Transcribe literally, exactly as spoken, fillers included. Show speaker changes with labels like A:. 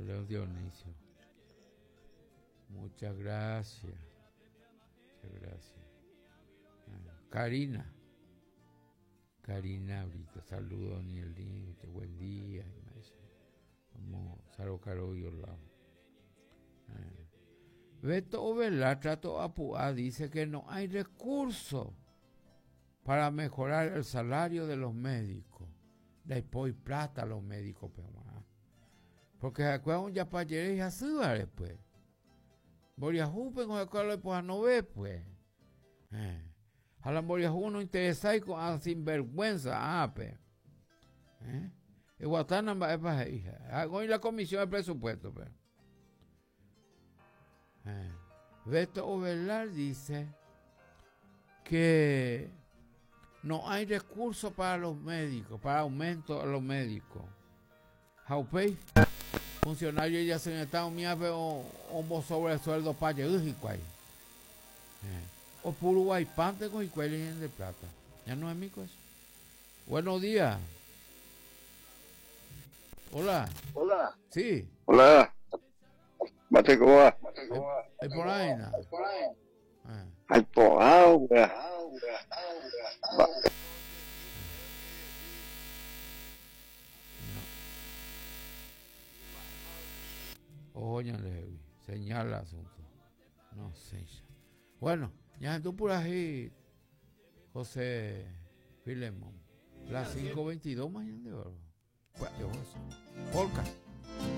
A: Leo Dionisio. Muchas gracias. Muchas gracias. Karina. Karina Brito. Saludos, Daniel. Buen día. Vamos, Saro Caro y Orlando. Beto Ovelar, Trato Apuá, dice que no hay recursos para mejorar el salario de los médicos. Después plata a los médicos, pero porque se acuerdan ya para ayer y así va después. Boriajú, pero con pues no ve, pues. Eh. A la Boriajú no interesa y con ah, sinvergüenza, ah, pues. Eh. Y Guatana va a hija. Hago la comisión de presupuesto, pues. Eh. Beto Ovelar dice que no hay recursos para los médicos, para aumento a los médicos. Jaupey, funcionario ya se está un pero un sobre sueldo para llegar O puro guaypante con y de plata. Ya no es mi cosa. Buenos días. Hola.
B: Hola.
A: Sí.
B: Hola. Mate, ¿cómo va?
A: Hay por ahí, ¿no?
B: Hay por ahí, güey.
A: Oye, Levi, señala asunto. No sé. Bueno, ya tú por ahí, José Filemón. Las cinco veintidós mañana de oro. Bueno, yo José. Polka.